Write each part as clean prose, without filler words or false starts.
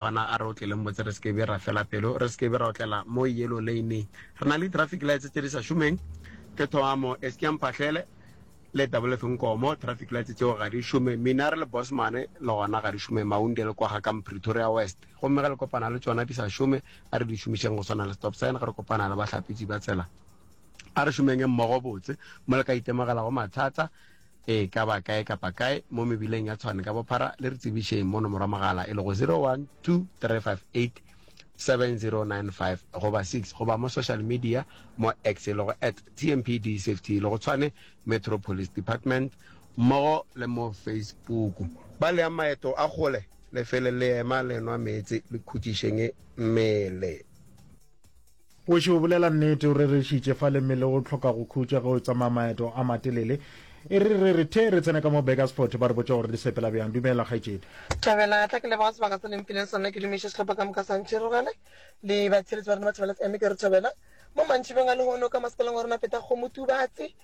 Gona a re otleleng botse re se ke be ra fela pelo, re se ke be ra otlela mo yellow lane-eng. Re na le di-traffic lights tše di sa šomeng, ke thoma mo Eskia Mphahlele le WF Nkomo, traffic lights tšeo ga di šome. Minare le Bosman le gona ga di šome, Maunde le kwa ga ka Pretoria West. Gomme ge le kopana le tšona di sa šome, a re di šomišeng go swana le stop sign ge re kopana le bahlapetši ba tsela. A re šomeng mmogo botse mo le ka itemogelago mathata E ka ba kae kapa kae mo mebileng ya Tshwane ka bophara, le re tsebišeng mo nomoro ya mogala e lego 0123587095 goba 6 goba mo social media mo X e lego at TMPD Safety e lego Tshwane Metro Police Department mmogo le mo Facebook. Ba le yang maeto a kgole le fele le ema le nwa meetse le khutšišeng mmele. Wešo o bolela nnete, o rerešitše fale mmele o hloka go khutša ge o tsamaya maeto a matelele. E re re re the re tsene ka mo Burgersfort ba re botše gore di sepela bjang. Dumela kgaetšedi. Thabela, tla ke leboga sebaka se le mphileng sona ke dumiše sehlopha ka moka sa Ntšhirogele le batheeletši ba rena ba Thobela FM ke re thobela mo mantšibeng a lehono ka masepaleng wa rena Peta Kgomo Tubatse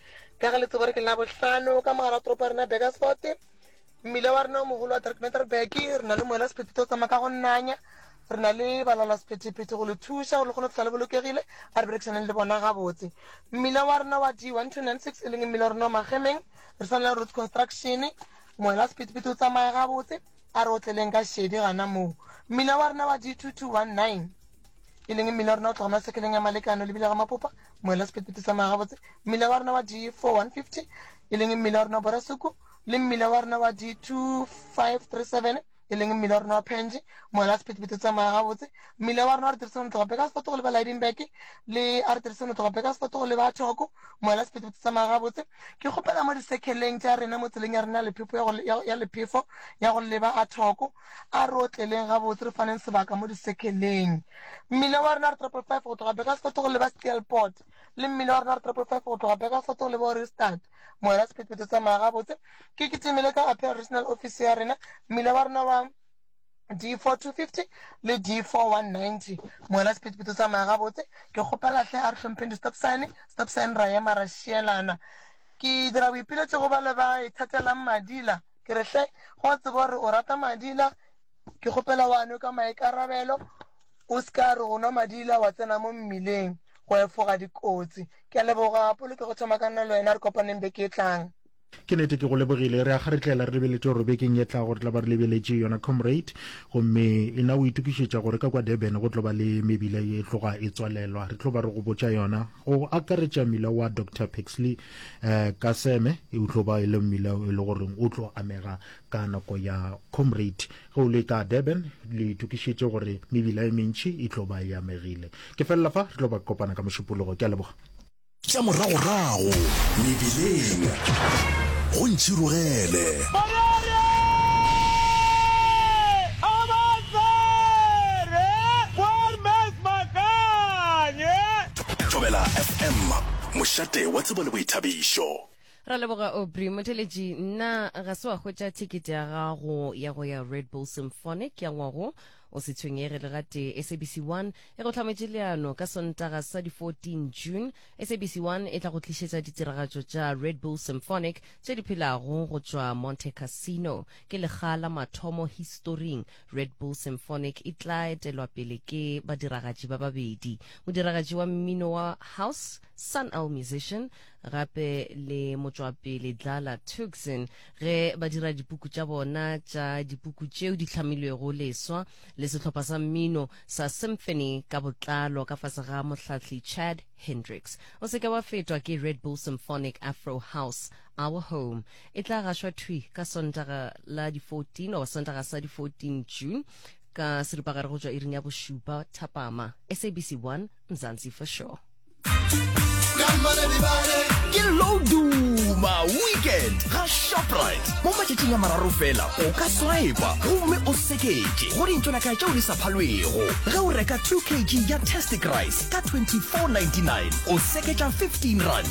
ka ge le tseba gore ke Labohlano ka mogare wa toropo ya rena Burgersfort. Mmila wa rena o mogolo wa Drakmeterberg, re na le moela sephethephethe o tsamaya ka go nanya. Re na le balaola sephethephethe go le thuša gore le kgone go fihla le bolokegile. A re berekišaneng le bona gabotse. Mmila wa rena wa D1296 e leng mmila wa rena wa Magemeng, re sa na le road construction. Moela sephethephethe o tsamaya gabotse. A re otleleng ka šedi gana moo. Mmila wa rena wa D2219 e leng mmila wa rena o tloga masekeleng ya Malekano lebile ga Mapopa, moela sephethephethe o tsamaya gabotse. Mmila wa rena wa D4150 e leng mmila wa rena wa Borasuku, le mmila wa rena wa D2537 e leng mmila wa rena wa Penge, moela wa sephethephethe o tsamaya gabotse. Mmila wa rena wa R37 o tloga Burgersfort go leba Lydenburg le R37 o tloga Burgersfort go leba Thoko, moela wa sephethephethe o tsamaya gabotse. Ke kgopela mo disekheleng tša rena mo tseleng ya rena ya lephefo ya go, ya, ya lephefo ya go leba a Thoko, a re otleleng gabotse re faneng sebaka mo disekheleng. Mmila wa rena R555 go tloga Burgersfort go leba Steelpoort le mmila wa rena R555 go tloga Burgersfort go leba Ohrigstad. Moela sephethephethe tsamaya gabotse. Ke kitimile ka appeal regional office ya rena, mmila wa rena wa D4250 le D4190. Moela sephethephethe tsamaya gabotse. Ke kgopela hle a re hlompheng di-stop sign, stop sign ra ema ra šielana. Ke dira boipiletšo go bale ba ithatelang madila. Ke re hle, go tseba gore o rata madila, Ke kgopela o a nwe ka maikarabelo, o se ka re go nwa madila wa tsena mo mmileng go efoga dikotsi. Ke a leboga Polokego thoma ka nna le wena re kopaneng beke e tlang. Ke nete ke go lebogile. Re a kgaretlela re lebeletše gore bekeng ye tlago re tla ba re lebeletše yona Comrade. Gomme e na o itokišetša gore ka kwa Durban go tlo ba le mebila ye e tloga e tswalelwa. Re tlo ba re go botša yona go akaretša mmila wa Doctor Pixley eh, Kaseme e tlo ba e le mmila e le goreng o tlo amega Ka nako ya Comrade, ge o le ka Durban, le itokišetše gore mebila e mentši e tlo ba e amegile. Ke felela fa, re tlo ba kopana ka Mošupologo. Ke a leboga. Tša moragorago mebileng go ntšhirogele. Thobela FM, mošate wa tsebo le boithabišo. Ra leboga Aubrey. Motheletši, nna ga se wa hwetša thekete ya gago ya go ya Red Bull Symphonic ya ngwago? O se tshwenyege le gatee. SABC 1 e go hlametše leano ka Sontaga sa di 14 June. SABC 1 e tla go tlišetša ditiragatšo tša Red Bull Symphonic tše di phelago go tšwa Monte Cassino. Ke lekga la mathomo historing Red Bull Symphonic e tla etelwa pele ke badiragatši ba babedi, modiragatši wa mmino wa house Sun El Musician gape le motšwapele Dlala Tuxin ge ba dira dipuku tša bona tša dipuku tšeo di hlamilwego leswa le sehlopha sa mmino sa symphony ka botlalo ka fase ga mohlahli Chad Hendricks. O se ke wa fetwa ke Red Bull Symphonic Afro House Our Home. E tla gašwa thwi ka Sontaga la di 14 goba Sontaga sa di 14 June ka seripagare go tšwa iring ya bošupa thapama. SABC 1 Mzansi for sure. Ke Loduma Weekend ga Shoprite. Mo matšatšing a mararo fela o ka swipa gomme o seketše go dintšonaka tšeo di sa phalwego. Ge o reka 2 kg ya Tastic Rice ka 24.99 o seketša R15.